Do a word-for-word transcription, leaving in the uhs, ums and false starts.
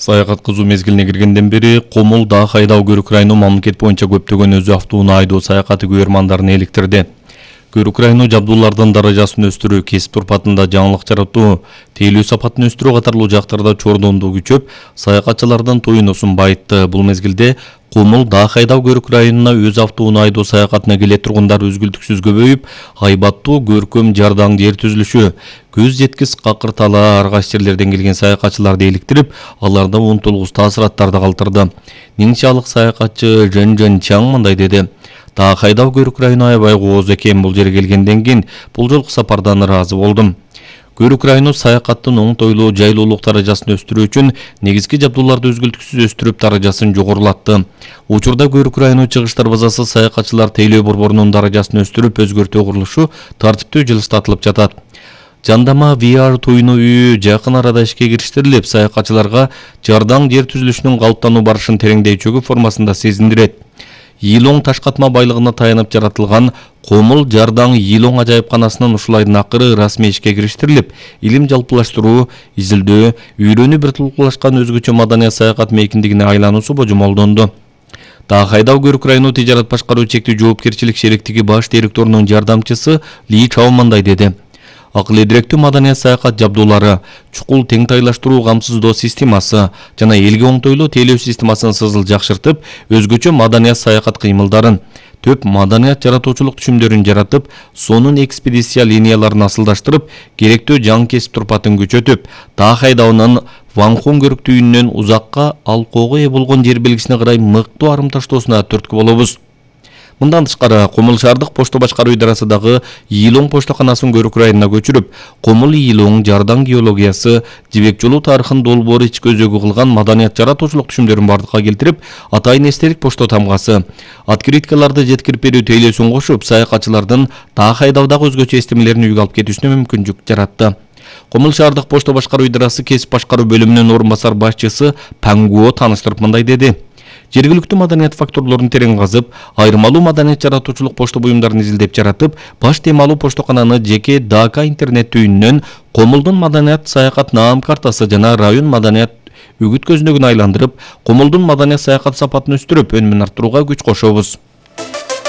Саякат кызуу мезгилине киргенден бери Комул Дагы айдоо көрүк району мамлекет боюнча көптөгөн өзү автоунаа айдоо саякаты көрмандарын эликтирди. Көрүк району жабдуулардын даражасын өстүрүү, кесип турпатында жаңылык жаратуу, тейлөө сапатын өстүрүү катарлуу жактарда чордондуу күчөп, саякатчылардын тоюнусун байытты. Бул мезгилде Комул Дагы айдоо көрүк районуна өз автоунаа айдоо саякатына келе тургундар үзгүлтүксүз көбөйүп, айбаттуу көркөм жардаң жер түзүлүшү, көз жеткис какыртала ар кайсы жерлерден келген саякатчыларды эликтирип, аларда унутулгус таасыраттарды калтырды. Нинчалык саякатчы Жөн Жөн Чаң мындай деди: Дагы айдоо көрүк району аябай кооз экен, бул жерге келгенден кийин бул жолку сапардан ыраазы болдум. Көрүк району саякаттын оңтойлуу, жайлуулук даражасын өстүрүү үчүн негизги жабдууларды үзгүлтүксүз өстүрүп, даражасын жогорулатты. Учурда Көрүк району чыгыш дарбазасы саякатчылар тейлөө борборунун даражасын өстүрүп, өзгөртүү курулушу тартиптүү жылыстатылып жатат. Жандама ви ар туюну үйү жакын арада ишке кириштирилип, саякатчыларга жардаң жер түзүлүшүнүн калыптануу барышын тереңдей чөгүү формасында сезиндирет. Йилоң таш катма байлыгына таянып жаратылган Комул жардаң Йилоң ажайыпканасынын ушул айдын акыры расмий ишке кириштирилип, илим жалпылаштыруу, изилдөө, үйрөнүү бир тулкулашкан өзгөчө маданият саякат мейкиндигине айлануусу божомолдонду. Дагы айдоо көрүк району тижарат башкаруу чектүү жоопкерчилик шериктиги баш директорунун жардамчысы Ли Чао мындай деди: Акыл эдиректүү маданият саякат жабдуулары, чукул теңтайлаштыруу камсыздоо системасы жана элге оңтойлуу тейлөө системасын сызыл жакшыртып, өзгөчө маданият саякат кыймылдарын, төп маданият жаратуучулук түшүмдөрүн жаратып, сонун экспедиция линияларын асылдаштырып, керектүү жаң кесип турпатын күчөтүп, Дагы айдоонун Ванхон көрүк түйүнүнөн узакка алкоого ээ болгон жер белгисине карай мыктуу арым таштоосуна түрткү болобуз. Мындан тышкары, Комул шаардык почто башкаруу идарасындагы Йилоң поштоканасын Көрүк районуна көчүрүп, Комул Йилоң жардаң геологиясы, жибек жолу тарыхын долбоор ички өзөгү кылган маданият жаратуучулук түшүмдөрүн бардыкка келтирип, атайын эстелик почто тамгасы, открыткаларды жеткирип берүү тейлөөсүн кошуп, саякатчылардын Дагы айдоодагы өзгөчө эстемелерин үйгө алып кетүүсүнө мүмкүнчүлүк жаратты. Комул шаардык почто башкаруу идарасы кесип башкаруу бөлүмүнүн орун басар башчысы Пангуо тааныштырып мындай деди: Жергиликтүү маданият факторлорун терең казып, айырмалуу маданият жаратуучулук почто буюмдарын изилдеп жаратып, баш темалуу поштокананы жеке ДК интернет түйүнүнөн Комулдун маданият саякат наам картасы жана район маданият үгүт көзүнөгүн айландырып, Комулдун маданият саякат сапатын өстүрүп, өнүмүн арттырууга күч кошобуз.